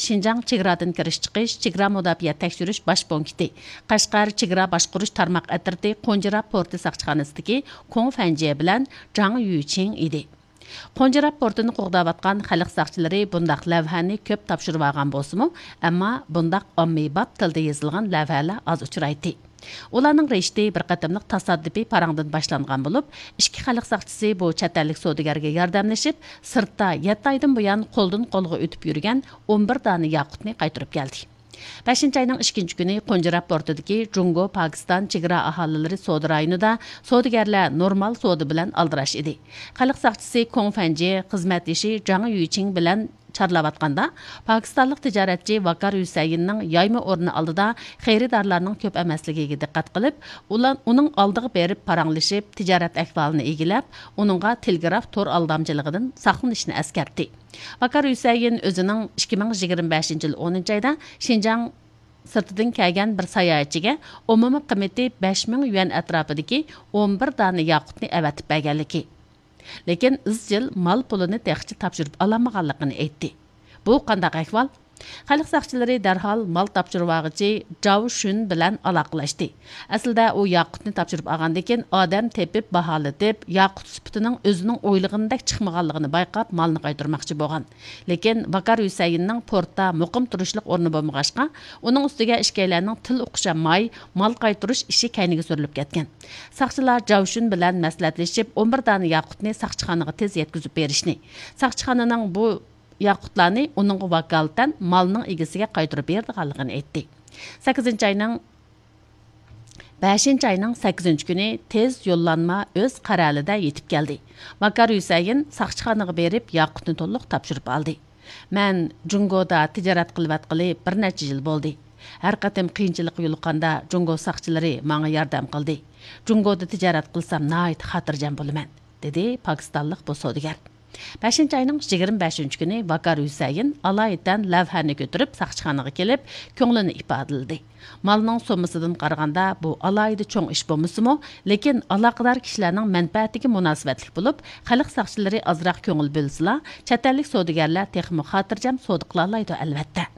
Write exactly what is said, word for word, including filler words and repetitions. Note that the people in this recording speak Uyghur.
شىنجاڭ چېگرادىن كىرىش چىقىش چېگرا مۇداپىئە تەكشۈرۈش باش پونكىتى، قەشقەر چېگرا باشقۇرۇش تارماق ئەترىتى قونجىرا پورتى ساقچىخانىسىدىكى كۇڭ فەنجيې بىلەن جاڭ يۈچىڭ ئىدى. قونجىرا پورتىنى قوغداۋاتقان خەلق ساقچىلىرى بۇنداق لەۋھەنى كۆپ تاپشۇرۇۋالغان بولسىمۇ، ئەمما بۇنداق ئاممىباب تىلدا يېزىلغان لەۋھەلەر ئاز ئۇچرايتتى. ئۇلارنىڭ رىشتى بىر قېتىملىق تاسادىپىي پاراڭدىن باشلانغان بولۇپ، ئىككى خەلق ساقچىسى بۇ چەت ئەللىك سودىگەرگە ياردەملىشىپ، سىرتتا يەتتە ئايدىن بۇيان قولدىن قولغا ئۆتۈپ يۈرگەن ئون بىر دانە ياقۇتنى قايتۇرۇپ كەلدى. بەشىنچى ئاينىڭ ئىككىنچى كۈنى قونجىرا پورتىدىكى جۇڭگو پاكىستان چېگرا ئاھالىلىرى سودا رايونىدا سودىگەرلەر نورمال سودا بىلەن ئالدىراش ئىدى. خەلق ساقچىسى كۇڭ فەنجى خىزمەتدىشى جاڭ يۈچىڭ بىلەن چارلاۋاتقاندا، پاكىستانلىق تىجارەتچى ۋاكار ھۈسەيىننىڭ يايما ئورنى ئالدىدا خېرىدارلارنىڭ كۆپ ئەمەسلىكىگە دىققەت قىلىپ، ئۇلار ئۇنىڭ ئالدىغا بېرىپ پاراڭلىشىپ، تىجارەت ئەھۋالىنى ئىگىلەپ، ئۇنىڭغا تېلېگراف تور ئالدامچىلىقىدىن ساقلىنىشنى ئەسكەرتتى. ۋاكار ھۈسەيىن ئۆزىنىڭ ئىككى مىڭ يىگىرمە بەشىنچى يىل ئونىنچى ئايدا شىنجاڭ سىرتىدىن كەلگەن بىر ساياھەتچىگە ئومۇمىي قىممىتى بەش مىڭ يۈەن ئەتراپىدىكى ئون بىر دانە ياقۇتنى ئەۋەتىپ بەرگەنلىكى، لېكىن ئىزچىل مال پۇلىنى تېخىچە تاپشۇرۇپ ئالالمىغانلىقىنى ئېيتتى. بۇ قانداق ئەھۋال؟ خەلق ساقچىلىرى دەرھال مال تاپشۇرۇۋالغۇچى جاۋ شۈن بىلەن ئالاقىلەشتى. ئەسلىدە ئۇ ياقۇتنى تاپشۇرۇپ ئالغاندىن كېيىن، ئادەم تېپىپ، باھالىتىپ، ياقۇت سۈپىتىنىڭ ئۆزىنىڭ ئويلىغىنىدەك چىقمىغانلىقىنى بايقاپ، مالنى قايتۇرماقچى بولغان. لېكىن ۋاكار ھۈسەيىننىڭ پورتتا مۇقىم تۇرۇشلۇق ئورنى بولمىغاچقا، ئۇنىڭ ئۈستىگە ئىككىيلەننىڭ تىل ئۇقۇشالماي، مال قايتۇرۇش ئىشى كەينىگە سۈرۈلۈپ كەتكەن. ساقچىلار جاۋ شۈن بىلەن مەسلىھەتلىشىپ، ئون بىر دانە ياقۇتنى ساقچىخانىغا تېز يەتكۈزۈپ بېرىشنى، ساقچىخانىنىڭ بۇ ياقۇتلارنى ئۇنىڭغا ۋاكالىتەن مالنىڭ ئىگىسىگە قايتۇرۇپ بېرىدىغانلىقىنى ئېيتتى. سەككىزىنچى ئاينىڭ، بەشىنچى ئاينىڭ سەككىزىنچى كۈنى تېز يوللانما ئۆز قەرەلىدە يېتىپ كەلدى. ۋاكار ھۈسەيىن ساقچىخانىغا بېرىپ، ياقۇتنى تولۇق تاپشۇرۇپ ئالدى. مەن جۇڭگودا تىجارەت قىلىۋاتقىلى بىر نەچچە يىل بولدى. ھەر قېتىم قىيىنچىلىققا يولۇققاندا، جۇڭگو ساقچىلىرى ماڭا ياردەم قىلدى. جۇڭگودا تىجارەت قىلسام ناھايىتى خاتىرجەم بولىمەن، دېدى پاكىستانلىق بۇ سودىگەر. بەشىنچى ئاينىڭ يىگىرمە بەشىنچى كۈنى ۋاكار ھۈسەيىن ئالايىتەن لەۋھەنى كۆتۈرۈپ ساقچىخانىغا كېلىپ، كۆڭلىنى ئىپادىلىدى. مالنىڭ سوممىسىدىن قارىغاندا، بۇ ئالاھىدە چوڭ ئىش بولمىسىمۇ، لېكىن ئالاقىدار كىشىلەرنىڭ مەنپەئەتىگە مۇناسىۋەتلىك بولۇپ، خەلق ساقچىلىرى ئازراق كۆڭۈل بۆلسىلا، چەت ئەللىك سودىگەرلەر تېخىمۇ خاتىرجەم سودا قىلالايدۇ، ئەلۋەتتە.